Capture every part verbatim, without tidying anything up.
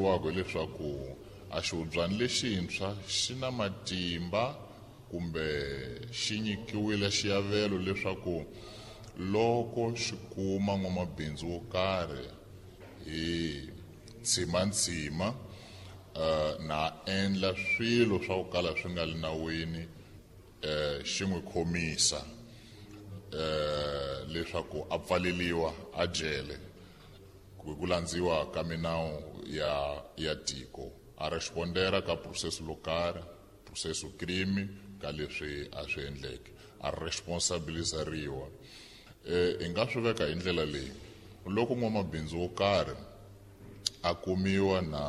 vuriwaka hileswaku a xihubyana lexintshwa xi na matimba kumbe xi nyikiwile xiavelo leswaku loko xi kuma n'wamabindzu wo karhi hi ntshima-ntshima uh, na endla swilo swa ku kala swi nga li nawini uh, xi n'wi khomisa uh, leswaku a pfaleliwa a jele hi ku landziwa ka minawu ya ya tiko a respondera ka processo lo karhi processo crime ka leswi a swi endleke a responsabilizariwa. Eh hi nga swi veka hi ndlela leyi loko n'wamabindzu wo karhi a kumiwa na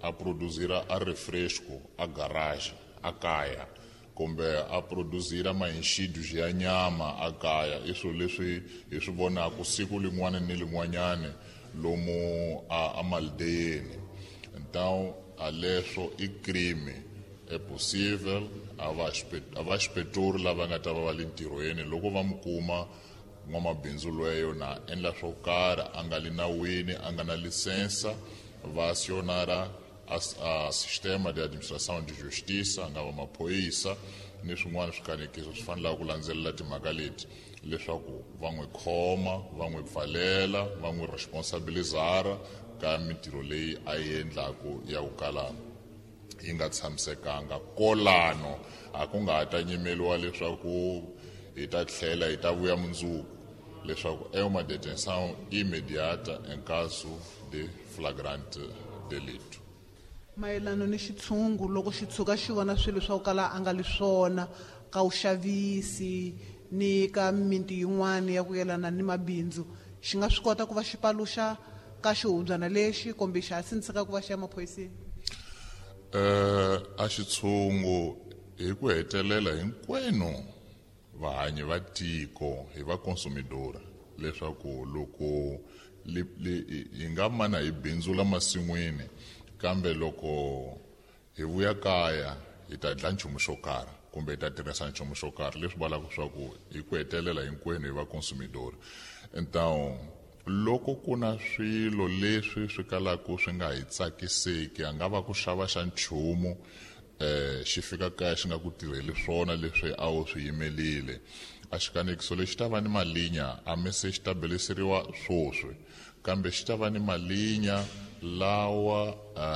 a produzira a refresco a garage a kaya kumbe a produzira mainxidu ya nyama a kaya i swilo leswi hi swi vonaka siku lin'wana ni lin'wanyani lomu a, a maldeyeni. Então a leswo i crime é possível a va a va xipeturi lava nga ta va va le ntirhweni loko va mi kuma n'wamabindzu lweyo na endla swo karhi a nga li nawini a nga na lisensa va acionara a, a sistema de administração de justiça nga va maphorisa ni swin'wana swikanekiso swi fanelaka ku landzelela timhaka leti leswaku va n'wi khoma va n'wi pfalela va n'wi responsabilizara ka mintirho leyi a yi endlaku ya ku kala yi nga tshamisekanga. Kolano a ku nga ha ta nyimeliwa leswaku hi ta tlhela hi ta vuya mundzuku leswaku é uma detenção imediata em caso de flagrante delito. Mayelana ni xitshungu loko xi tshuka xi vona swilo swa ku kala a nga li swona ka vuxavisi ni ka mimiti yin'wana ya ku yelana ni mabindzu xi nga swi kota ku va xi paluxa ka xihubyana lexi kumbe xa ha sindziseka ku va xi ya maphoriseni? Eh a xitshungu hi ku hetelela hinkwenu vahanyi va tiko hi va consumidora leswaku loko li, li, hi nga mana hi bindzula masin'wini kambe loko hi vuya kaya hi ta dla nchumu xo karhi kumbe hi ta tirhisa nchumu xo karhi leswi vulaka swa ku hi ku hetelela hinkwenu hi va consumidora. Então loko ku na swilo leswi swi kalaka swi nga hi tsakiseki a nga va ku xava xa nchumu eh xi fika kaya xi nga ku tirheli swona leswi a wu swi yimelile a xikanekiso lexi ta va ni malinya a mi se xi ta beleseriwa swoswi kambe xi ta va ni malinya lawa a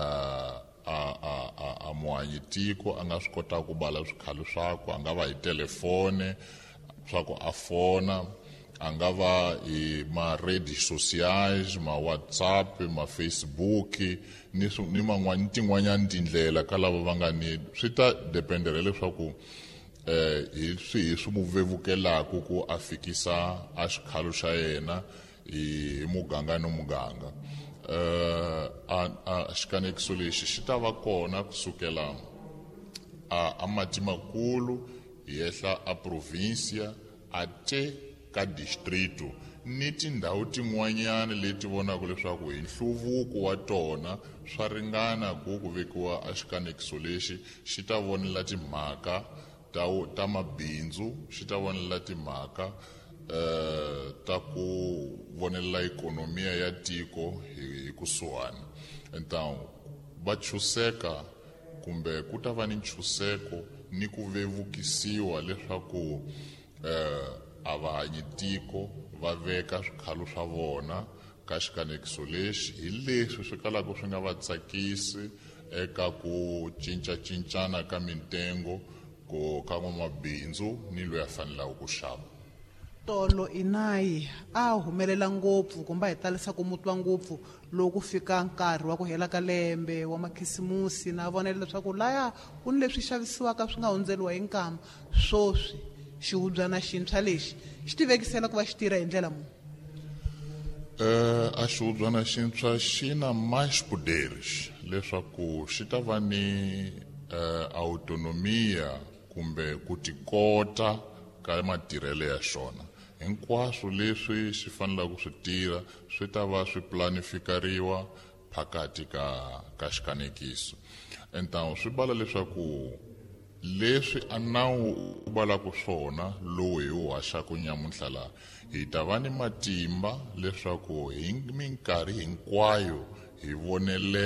a a a, a muhanyi tiko a nga swi kotaka ku bala swikhalo swakwe a nga va hi telefone swa ku a fona a nga va hi ma-redes sociais ma WhatsApp ma Facebook ni ni man'wani tin'wanyani tindlela ka lava va nga ni swi ta dependela leswaku eh hi swihi swi mu vevukelaku ku a fikisa a xikhalo xa yena hi muganga ni muganga. Eh a, a xikanekiso lexi xi ta va kona kusukela a, a mati makulu hi ehla a provincia a te ka distrito ni tindhawu tin'wanyana leti vonaka leswaku hi nhluvuko wa tona swa ringana ku ku vekiwa a xikanekiso lexi xi ta vonela timhaka ta ta mabindzu xi ta vonela timhaka eh ta ku vonelela ikonomiya ya tiko hi kusuhani. Então va chuseka kumbe ku ta va ni nchuseko ni ku vevukisiwa leswaku eh a va hanyi tiko va veka swikhalo swa vona ka xikanekiso lexi hi leswi swi kalaka swi nga va tsakisi eka ku cincacincana ka mintengo ku ka n'wamabindzu ni loyi a fanelaka ku xava. Tolo inayi a humelela ngopfu kumbe hi talisa ku mutwa ngopfu loko fika nkarhi wa ku hela ka lembe wa makhisimusi na vonela leswaku laya ku ni leswi xavisiwaka swi nga hundzeriwa hi nkama. Swoswi xihubyana xintshwa lexi xi tivekisela ku va xi tirha hi ndlela muni? Eh a xihubyana xintshwa xi na mais poderes leswaku xi ta va ni eh autonomia kumbe ku tikota ka matirhelo ya xona. Hinkwaswo leswi xi fanelaka ku swi tirha swi ta va swi planifikariwa phakati ka ka xikanekiso. Então swi bala leswaku leswi a nawu u balaka swona lowu hi wu haxaka nyamuntlha laha hi ta va ni matimba leswaku hi minkarhi hinkwayo hi vonelela